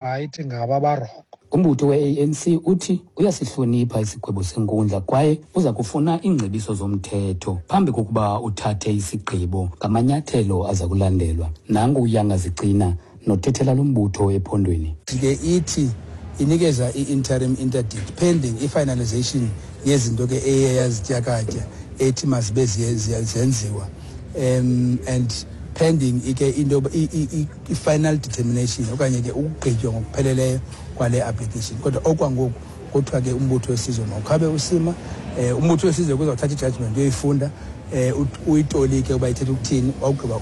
Right ngaba barongo. Umbutho we-ANC uthi uyasihlonipha isigwebo senkundla kwaye uza kufuna iingcebiso zomthetho phambi kokuba uthathe isigqibo ngamanyathelo aza kulandelwa. Nangu uYanga Zicina nothethela lo mbutho ephondweni. Ke ithi inikeza i-interim interdict pending i-finalization yezinto ke eye yazityakatya ethi mazibe zenziwa and pending ike into i-final determination okanye ke ukugqitywa ngokupheleleyo kwale application. Kodwa okwangoku kuthiwa ke umbutho wesizwe mawukhabe usima. Umbutho wesizwe kuzawuthatha i-judgment uyoyifunda, uyitolike uba ithetha ukuthini, wawugqiba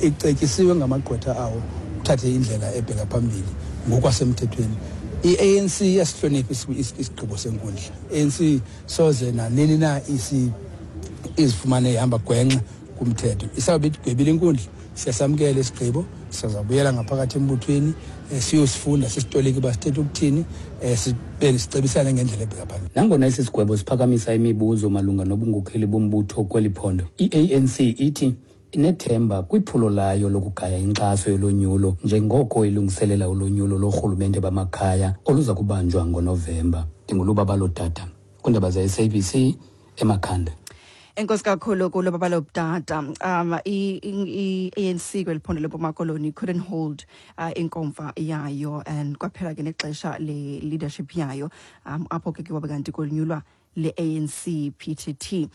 icetyisiwe ngamagqwetha awo uthathe indlela ebheka phambili ngokwasemthethweni. I-ANC iyasihlonipha isigqibo senkundla. ANC soze nanini na izifumane ihamba gwenxa kumthetho. Isawube igwebile inkundla, siyasamkela isigqibo, sizawubuyela ngaphakathi embuthweni, siyosifunda sisitolike uba sithetha ukuthini, sicebisane ngendlela ebheka phambili. Nangona esi sigwebo siphakamisa imibuzo malunga nobunkokheli bombutho kweli phondo, i-ANC ithi inethemba kwiphulo layo lokugaya inkxaso yolonyulo njengoko ilungiselela ulonyulo loorhulumente bamakhaya oluza kubanjwa ngoNovemba. Ndingulubabalo Dada kwiindaba ze-SABC eMakhanda. Enkosi kakhulu kulo babalo Dada. I-ANC kweli phondo leMpuma Koloni couldn't hold inkomfa yayo and kwaphela ke nexesha le-leadership yayo, apho ke kwabe kanti konyulwa le-ANC PTT,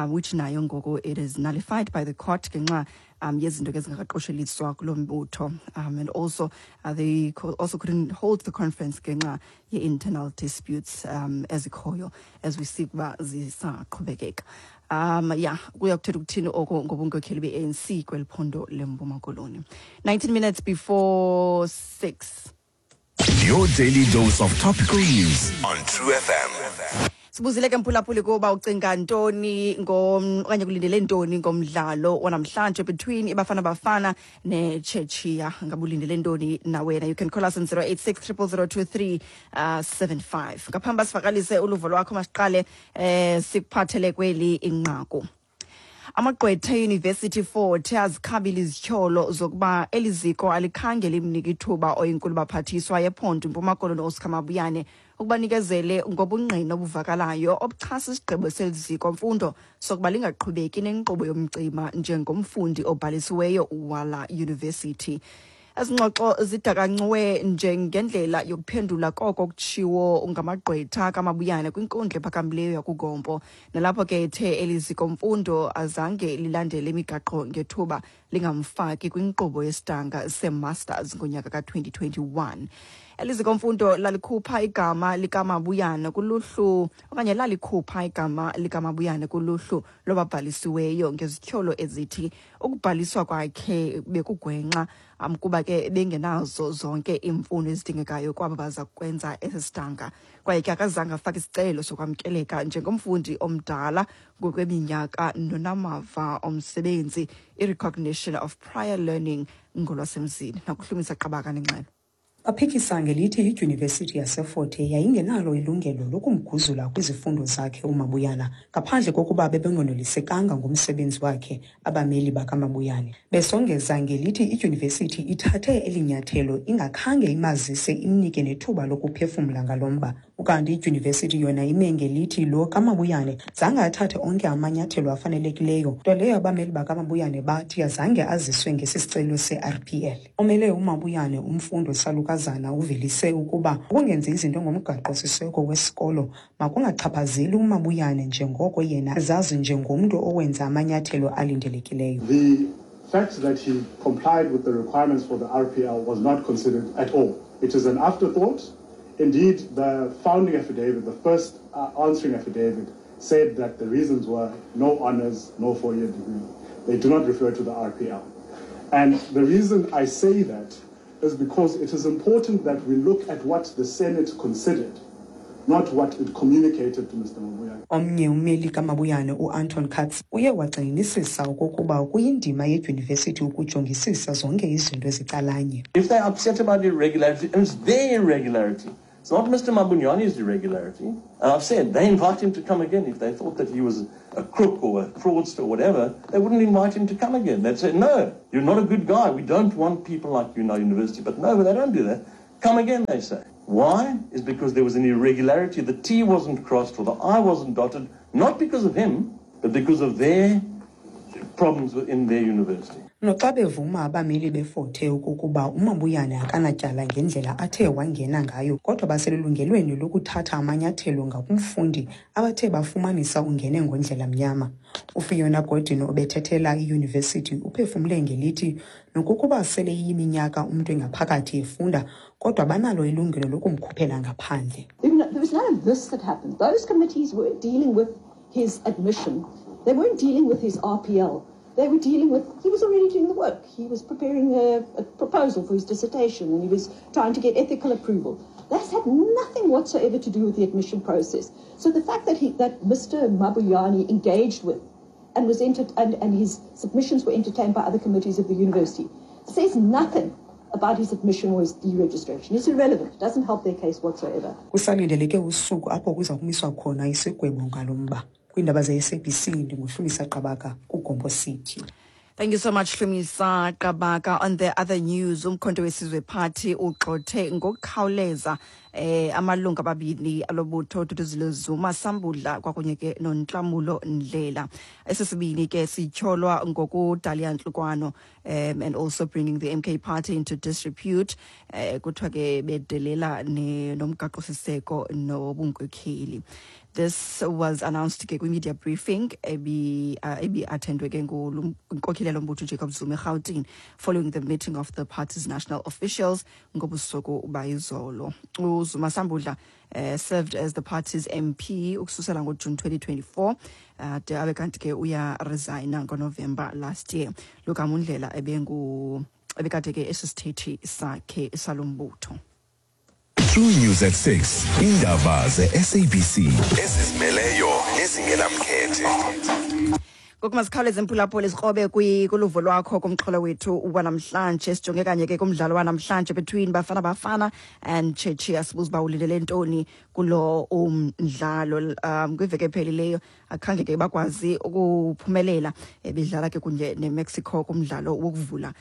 which nayo ngoku it is nullified by the court ngenxa yezinto ke zingakaqosheliswa kulo mbutho, and also they also couldn't hold the conference ngenxa ye-internal disputes ezikhoyo as we see ukuba zisaqhubekeka. Yeah, kuya kuthetha ukuthini oko ngobunkokheli be-ANC kweli phondo leMpuma Koloni? 19 minutes before 6. Your daily dose of topical news on True FM. Sibuzile ke, mphulaphuli, kuba ucinga ntoni okanye kulindele ntoni ngomdlalo wanamhlanje between iBafana Bafana neChechia? Ngabe ulindele ntoni na wena? You can call us on 086 00023 75. Ngaphambi basivakalise uluvo lwakho, masiqale sikuphathele kweli inqaku. Amagqwetha eYunivesithi Fort azikhabile izityholo zokuba eli ziko alikhange limnike ithuba oyinkulu baphathiswa yephondo iMpuma Koloni Oscar Mabuyane ukuba nikezele ngobungqina obuvakalayo obuxhasa isigqibo seli ziko mfundo sokuba lingaqhubeki nenkqubo yomcima njengomfundi obhalisiweyo wala yunivesithi. Ezi ngxoxo zidakancwe njengendlela yokuphendula koko kutshiwo ngamagqwetha kaMabuyane kwinkundla ephakamileyo yakuGompo, nalapho ke ethe eli ziko mfundo azange lilandele imigaqo ngethuba lingamfaki kwinkqubo yesidanga se-masters ngonyaka ka-2021. Eli ziko mfundo lalikhupha igama likaMabuyane kuluhlu okanye lalikhupha igama likaMabuyane kuluhlu lwababhalisiweyo ngezityholo ezithi ukubhaliswa kwakhe bekugwenxa, kuba ke bengenazo zonke iimfuno ezidingekayo kwabo baza kwenza esi sidanga, kwaye ke akazange afake isicelo sokwamkeleka njengomfundi omdala ngokweminyaka nonamava omsebenzi, i-recognition of prior learning ngolwasemzini. Nakuhlumisa Qabaka nengxelo. Baphikisa ngelithi iDyunivesithi yaseFort Hare yayingenalo ilungelo lokumguzula kwizifundo zakhe uMabuyana ngaphandle kokuba bebengonelisekanga ngumsebenzi wakhe. Abameli bakaMabuyane besongeza ngelithi idyunivesithi ithathe eli nyathelo ingakhange imazise, imnike nethuba lokuphefumla ngalo mba. Ukanti idyunivesithi yona ime ngelithi lo kaMabuyane zange athathe onke amanyathelo afanelekileyo, nto leyo abameli bakaMabuyane bathi azange aziswe ngesi sicelo se-RPL. Omele uMabuyane, uMfundo Salukazana, uvelise ukuba ukungenzi izinto ngomgaqo-siseko wesikolo makungachaphazeli uMabuyane, njengoko yena zazi njengomntu owenza amanyathelo alindelekileyo. The fact that he complied with the requirements for the RPL was not considered at all. It is an afterthought. Indeed, the founding affidavit, the first answering affidavit, said that the reasons were no honors, no 4-year degree. They do not refer to the RPL. And the reason I say that is because it is important that we look at what the Senate considered, not what it communicated to Mr. Mabuyane. Omnye ummeli kaMabuyane, uAnton Katz, uye wagxininisisa okokuba kuyindima yedyunivesithi ukujongisisa zonke izinto ezicalanye. If they're upset about irregularity, and it's their irregularity. It's not Mr. Mabuyane's irregularity. And I've said they invite him to come again. If they thought that he was a crook or a fraudster or whatever, they wouldn't invite him to come again. They'd say, "No, you're not a good guy. We don't want people like you in our university." But no, they don't do that. Come again, they say. Why? Is because there was an irregularity. The T wasn't crossed or the I wasn't dotted, not because of him, but because of their problems within their university. Noxa bevuma abameli beFort Hare okokuba uMabuyane akanatyala ngendlela athe wangena ngayo kodwa baselungelweni lokuthatha amanyathelo ngakumfundi abathe bafumanisa ungene ngondlela mnyama. UFiona Gordon obethethela iyunivesithi uphefumle ngelithi nokokuba sele iyiminyaka umntu engaphakathi efunda kodwa banalo ilungelo lokumkhuphela ngaphandle. There was none of this that happened. Those committees were dealing with his admission. They weren't dealing with his RPL. They were dealing with, he was already doing the work. He was preparing a proposal for his dissertation and he was trying to get ethical approval. That's had nothing whatsoever to do with the admission process. So the fact that that Mr. Mabuyane engaged with and was and his submissions were entertained by other committees of the university says nothing about his admission or his deregistration. It's irrelevant. It doesn't help their case whatsoever. Kusalindeleke usuku apho kuza kumiswa khona isigwebo ngalo mba. Kwiindaba ze-SABC ndinguHlumisa Qabaka kuGompo City. Thank you so much, Hlumisa Qabaka. On the other news, uMkhonto weSizwe Party ugxothe ngokukhawuleza amalungu ababini alobutho, Duduzile Zuma Sambudla kwakunye ke noNhlamulo Ndlela. Esesibini ke sityholwa ngokudala iyantlukwano and also bringing the MK Party into disrepute. Kuthiwa ke bedelela nomgaqo siseko nobunkokheli. This was announced ke kwi-media briefing ebi-attendwe ke ngunkokheli yalo Jacob Zuma eRhawutini following the meeting of the party's national officials ngobusuku bayizolo. UZuma Sambudla served as the party's MP ukususela ngoJune 2024 de abe kanti ke uya resigna ngoNovember last year. Logama uNdlela ebengu ebekade ke esisithethi sakhe salombutho. True News at 6. Indaba ze-SABC ezizimeleyo nezingenamkhethe. Ngoku masikhawuleze, mphulaphuli, sikrobe kuluvo lwakho kumxholo wethu wanamhlanje. Sijonge kanye ke kumdlalo wanamhlanje between Bafana Bafana and Czechia. Sibuza uba ulindele ntoni kulo umdlalo. Kwiveki ephelileyo akhange ke bakwazi ukuphumelela bedlala ke kunye neMexico kumdlalo wokuvula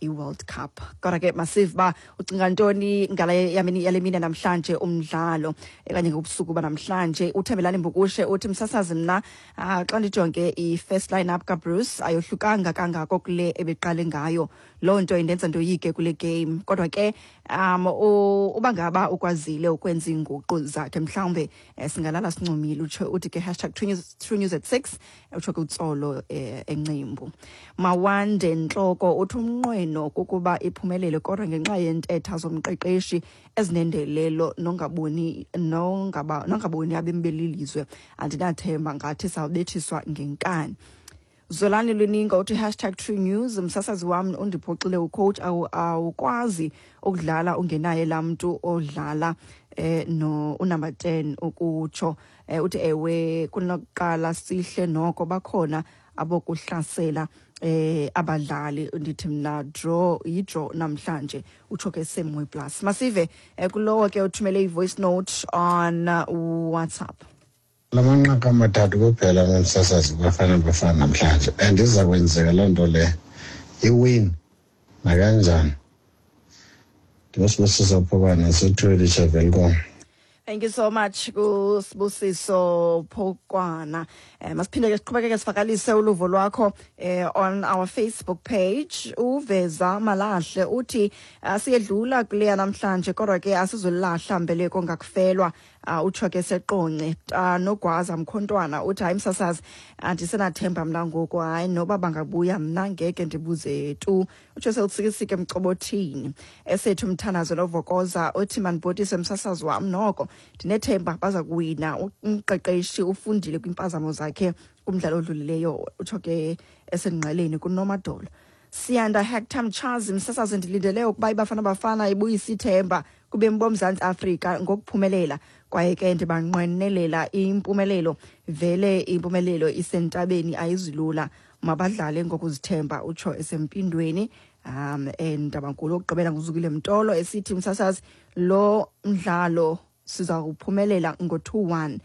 i-World Cup. Kodwa ke masive uba ucinga ntoni ngale yale mini namhlanje umdlalo okanye ngobusuku banamhlanje. UThembelani Mbukushe uthi, "Msasazi, mna xa ndijonge i-first line-up kaBroos ayohlukanga kangako kule ebeqale ngayo. Loo nto indenza ndoyike kule game. Kodwa ke uba ngaba ukwazile ukwenza iinguqu zakhe, mhlawumbe singalala sincumile." Utsho uthi ke #TrueNews at 6. Utsho ke uTsolo eNcimbu. Mawande Ntloko uthi umnqweno kukuba iphumelele, kodwa ngenxa yentetha zomqeqeshi ezinendelelo nongaboni abemi belilizwe, andinathemba, ngathi sawubethiswa ngenkani. Zolani Luninga uthi #TrueNews, "Msasazi wam, undiphoxile ucoach. Awukwazi ukudlala ungenaye laa mntu odlala no unumber 10 ukutsho." Uthi ewe, kunokuqala sihle noko bakhona abokuhlasela abadlali. Ndithi mna draw, yi-draw namhlanje. Utsho ke Semwe Plus. Masive kulowo ke uthumele i-voice note on WhatsApp. Lamanqaku amathathu kuphela, nomsasazi, Bafana Bafana namhlanje, and iza kwenzeka loo nto le, iwin nakanjani. NdinguSibusiso Phokwane, sethweli Welkom. Thank you so much kuSibusiso Phokwana. Masiphinde ke siqhubekeke sivakalise uluvo lwakho on our Facebook page. Uveza Malahle uthi siyedlula kuleya namhlanje, kodwa ke asizolahla mbeleko ngakufelwa. Utsho ke seQonce. Nogwaza Mkhontwana uthi, "Hayi msasazi, andisenathemba mna ngoku, hayi noba bangabuya mna ngeke ndibuze tu." Utsho selusikisike Mcobothini. Esethu Mthandazo Novokoza uthi, "Mandibhotise msasazi wam, noko ndinethemba baza kuwina. Umqeqeshi ufundile kwimpazamo zakhe kumdlalo odlulileyo." Utsho ke esengqeleni kuNomadolo. Siyanda Hector Mchazi, "Msasazi, ndilindele ukuba iBafana Bafana ibuyise ithemba kubemi boMzantsi Afrika ngokuphumelela, kwaye ke ndibanqwenelela impumelelo. Vele impumelelo isentabeni, ayizilula, mabadlale ngokuzithemba." Utsho esempindweni endabankulu. Okugqibela nguZukile Mtolo esithi, "Msasazi, lo mdlalo siza kuphumelela ngo-2-1."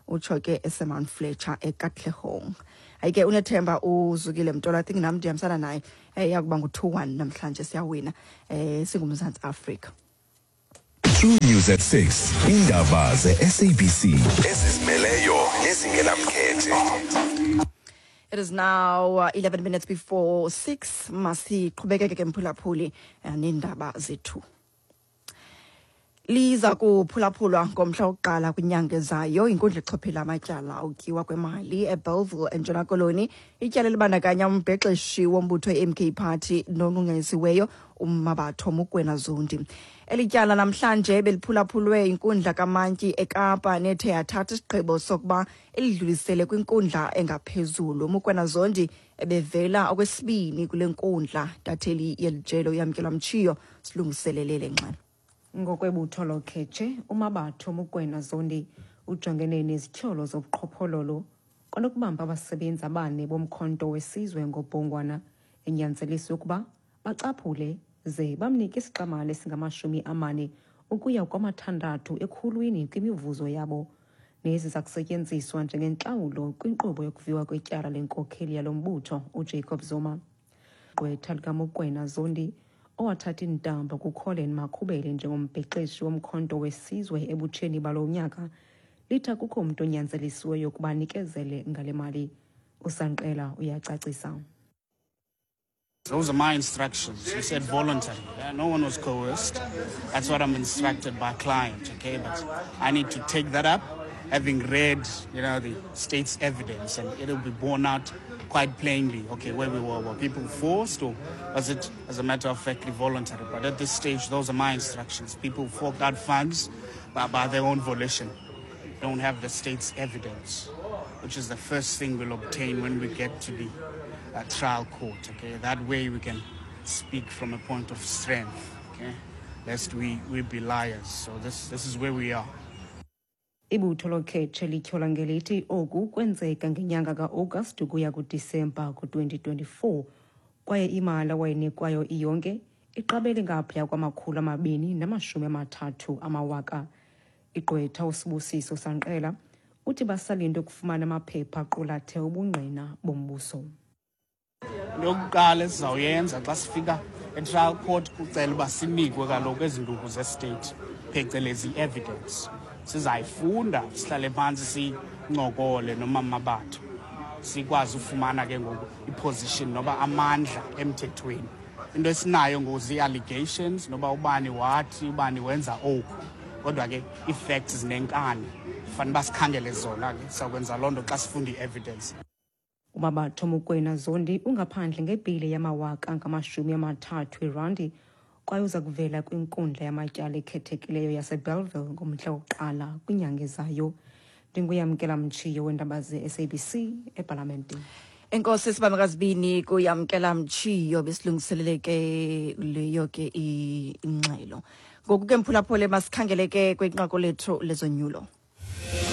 Utsho ke eseMount Fletcher eKatlehong. Hayi ke, unethemba uZukile Mtolo. I think nam ndihambisana naye, yakuba ngu-2-1 namhlanje, siyawina singuMzantsi Afrika. True News at 6. Indaba ze-SABC ezizimeleyo nezingenamkhethe. It is now 11 minutes before 6. Masiqhubekeke ke mphulaphuli neendaba zethu. Liza kuphulaphulwa ngomhla wokuqala kwinyanga ezayo inkundla echophela amatyala okutyiwa kwemali eBellville eNtshona Koloni. Ityala elibandakanya umbhexeshi wombutho i-MK Party nonqunqanyisiweyo uMmabatho Mokoena Zondi. Eli tyala namhlanje beliphulaphulwe inkundla kamantyi eKapa nethe yathatha isigqibo sokuba elidlulisele kwinkundla engaphezulu. Mokoena Zondi ebevela okwesibini kule nkundla. Intatheli yeli jelo uYamkelwa Mtshiyo silungiselele le ngxelo. Ngokwebutho lokhetshe, uMabatho Mokoena Zondi ujongene nezityholo zobuqhophololo kwanokubamba abasebenzi abane boMkhonto weSizwe ngobhongwana, enyanzeliswe ukuba bacaphule ze bamnike isixamali esingama-40 ukuya kwama-6 ekhulwini kwimivuzo yabo, nezi zakusetyenziswa njengentlawulo kwinkqubo yokuviwa kwetyala lenkokheli yalo mbutho uJacob Zuma. Gqwetha likaMokoena Zondi, owathatha iintambo kuCollen Makhubele njengombhexeshi woMkhonto weSizwe ebutsheni balo nyaka, lithi akukho mntu onyanzelisiweyo ukuba anikezele ngale mali. USanqela uyacacisa. Those are my instructions. You said voluntary. Yeah, no one was coerced. That's what I'm instructed by client, okay? But I need to take that up, having read the state's evidence, and it'll be borne out quite plainly, okay, where we were. Were people forced, or was it, as a matter of fact, voluntary? But at this stage, those are my instructions. People forked out funds by their own volition. Don't have the state's evidence, which is the first thing we'll obtain when we get to the trial court, okay? That way we can speak from a point of strength, okay? Lest we be liars. So this is where we are. Ibutho lokhetshe lityhola ngelithi oku kwenzeka ngenyanga ka-Agasti ukuya kuDisemba ku-2024, kwaye imali awayinikwayo iyonke iqabele ngaphaya kwama-230 amawaka. Igqwetha uSibusiso Sanqela uthi basalinde ukufumana amaphepha aqulathe ubungqina bombuso. Into yokuqala esizawuyenza xa sifika e-trial court kucela uba sinikwe kaloku ezi nduku ze-state, phecelezi i-evidence. Sizayifunda, sihlale phantsi, sincokole noMamabatho, sikwazi ufumana ke ngoku i-position noba amandla emthethweni. Into esinayo ngoku zii-allegations, noba ubani wathi ubani wenza oku, kodwa ke ii-facts zinenkani, fanele uba sikhangele zona ke. Sizawukwenza loo nto xa sifunda i-evidence. UMabatho Mokoena Zondi ungaphandle ngebheyile yamawaka angama-30 irandi, kwaye uza kuvela kwinkundla yamatyala ekhethekileyo yaseBellville ngomhla wokuqala kwinyanga ezayo. NdinguYamkela Mtshiyo weendaba ze-SABC epalamente. Enkosi sibamkazibini kuYamkela Mtshiyo, besilungiselele ke leyo ke ingxelo. Ngoku ke mphulaphule, masikhangele ke kwinqaku lethu lezonyulo.